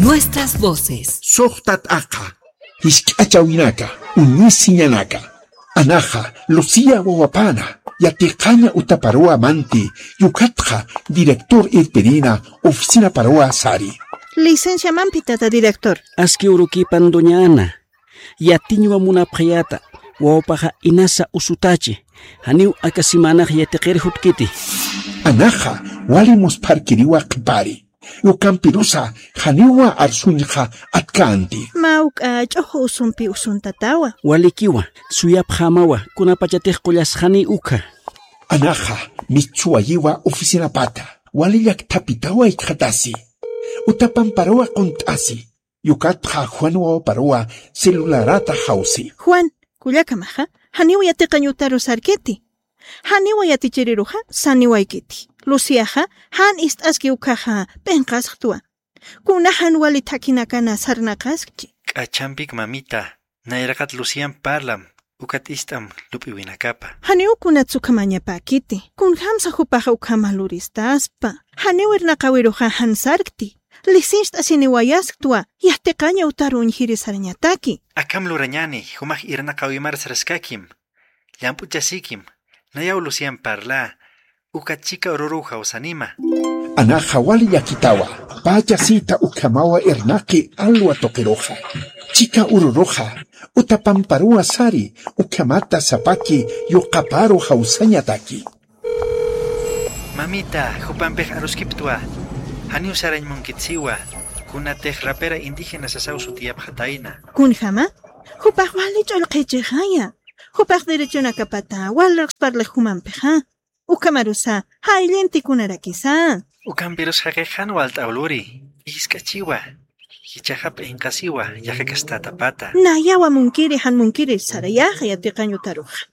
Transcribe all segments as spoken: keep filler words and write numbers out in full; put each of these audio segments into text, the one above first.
Nuestras voces. Suxtat aqa, jisk'achawinaka, uñisiñanaka. Anaxa, Lucía wawapana, yatiqaña utaparuwa manti, yukatxa, director irpirina, oficinaparuwa sari. Licencia mampi, tata director. Aski urukipan, doña Ana. Yatiñwa munapxayäta, wawapaxa inasa usutachi, janiw aka simanax yatiqir jutkiti. Anaxa, wali muspharkiriwa qhipari. Ukampirusa, janiwa arsuñxa atkänti. Mä uk'a ch'uxu usumpi usuntatawa. Walikiwa, suyapxämawa, kunapachatix qullasxani ukha. Anaxa, michhuwayiwa oficinapata, wali llakthapitawa jikxatasi. Utapamparuwa qunt'asi. Yukatxa Juan wawaparuwa celularata jawsi. Juan, kullakamaxa, janiw yatiqañ utaru sarkiti. Janiw yatichiriruxa, saniwaykiti. Luciaxa, jan ist'aski ukhaxa, p'inqasxtwa. Kuna jan wali thakhinakana sarnaqaskchi. K'achampik mamita, nayraqat Lucian parlam, ukat ist'am lup'iwinakapa. Janiw kunats ukhamañapäkiti. Kunjamsa jupaxa ukhama luristaspa. Janiw irnaqawiruxa jan sarkti. Lisincht'asiniwayasktwa, yatiqaña utaru uñjiri sarañataki. Akham lurañäni, jumax irnaqawimar saraskakim. Llamp'uchasikim, nayaw Lucian parla, ukat chika ururu jawsanima. Anaxa wali llakitawa, pä chasita ukhamawa irnaqi alwa tuqiruxa. Chika ururuxa, utapamparuwa sari, ukhamata sapaki yuqaparu jawsañataki. Mamita, jupampix aruskiptwa, janiw sarañ munkitsiwa, kunatix rapera indígena sasaw sutiyapxatayna. Kunjama, jupax wali ch'ullqhichixaya. Jupax derechonakapata, wal riqsparlix jumampixa. Ukhamarusa, jayllinti kunarakisa. Ukampirus jaqix jan walt'aw luri, jisk'achiwa, jichhaxa p'inqasiwa, yaqha castatapata. Nayawa munkiri, jan munkiri, sarayaxa yatiqañ utaruxa.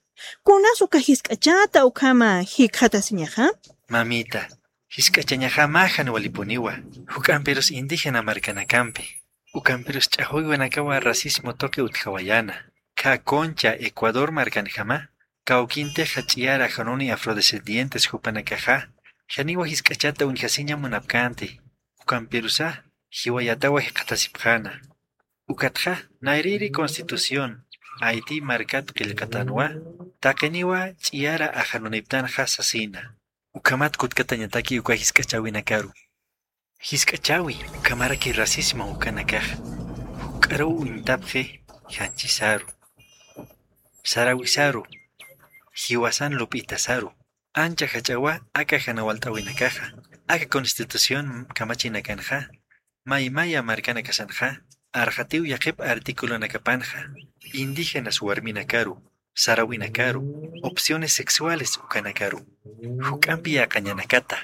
Kunas uka jisk'achata ukhama jikxatasiñaxa. Mamita, jisk'achañaxa mä jan walipuniwa, juk'ampirus indígena markanakampi. Ukampirus ch'axwiwinakawa racismo tuqi utjawayäna. Khä Concha, Ecuador markanjama, kawkintixa ch'iyar ajanuni afrodescendientes jupanakaxa, janiwa jisk'achata uñjasiña munapkänti. Ukampirusa, jiwayatawa jikxatasipxäna. Ukatxa, nayrïri Constitución, Haití markat qillqatanwa, taqiniwa ch'iyara ajanuniptanxa sasina. Ukhamat kutkatañataki uka jisk'achäwinakaru. Jisk'achäwi, ukhamaraki racismo ukanakax. Juk'aruw uñtapxi, janchisaru. Sarawisaru. Jiwasan lup'itasaru. Ancha jach'awa, aka jan walt'awinakaxa. Aka Constitución kamachinakanxa. Maymaya markanakasanxa. Arxatiw yaqhip articulonakapanxa. Indígenas warminakaru. Sarawinakaru, opciones sexuales ukanakaru. Juk'ampi yaqañanakata.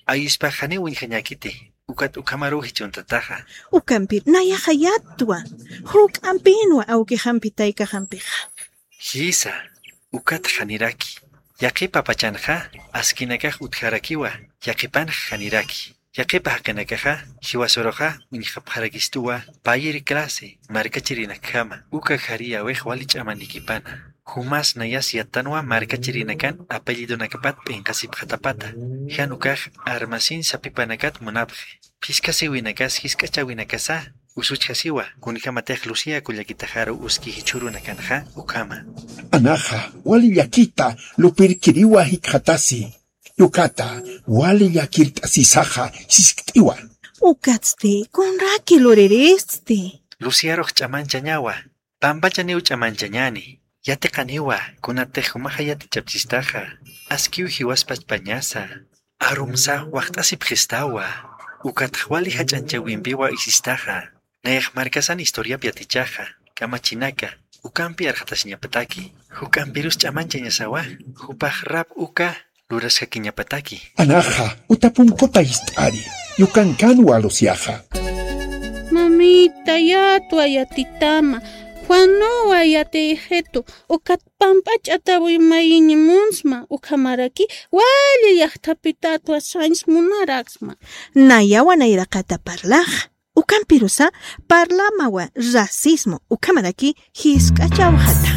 Ayispax janiw uñjañäkiti, ukat ukhamaruw jichhuntataxa. Ukampir, nayaxa yatwa. Juk'ampinwa awkixampi taykaxampixa. Jisa, ukat janiraki. Yaqhipa pachanxa, askinakax utjarakiwa, yaqhipanx janiraki. Yaqhipa jaqinakaxa, jiwasuruxa uñjapxarakistuwa, payïr clase, markachirinakjama, uka jariyäwix wali ch'amanikipana. Jumas nayas yattanwa markachirinakan apellidonakapat p'inqasipxatapata. Jan ukax armasin sapipanakat munapxi. Phiskasiwinakas jisk'achäwinakasa, usuchjasiwa, kunjamatix Lucía kullakitaxaru uski jichhürunakanxa, ukhama. Anaxa, wali llakita, lupirkiriwa jikxatasi. Yukata, wali llakirt'asisaxa siskt'iwa. Ukatsti, kunraki luririststi. Luciarux ch'amanchañawa, pampachaniw ch'amanchañäni. Yatiqaniwa, kunatix jumaxa yatichapchistaxa. Askiw jiwaspachpañasa. Arumsa waxt'asipxistawa. Ukatx wali jach'anchawimpiwa isistaxa. Nayax markasan historiap yatichaxa, kamachinaka, ukampi arxatasiñapataki, juk'ampirus ch'amanchañasawa, jupax rap uka luraskakiñapataki. Anaxa, uta punkuta jist'ari, yukankanwa Luciaxa. Mamita, yatwa yatitama, Juanuwa yatixitu, ukat pampach'atawi mayiñi munsma, ukhamaraki, wali llaqtapitatwa sañs munaraksma. Nayawa nayraqata parlaxa. Ukampirusa parlamawa racismo ukhamaraki jisk'achawxata.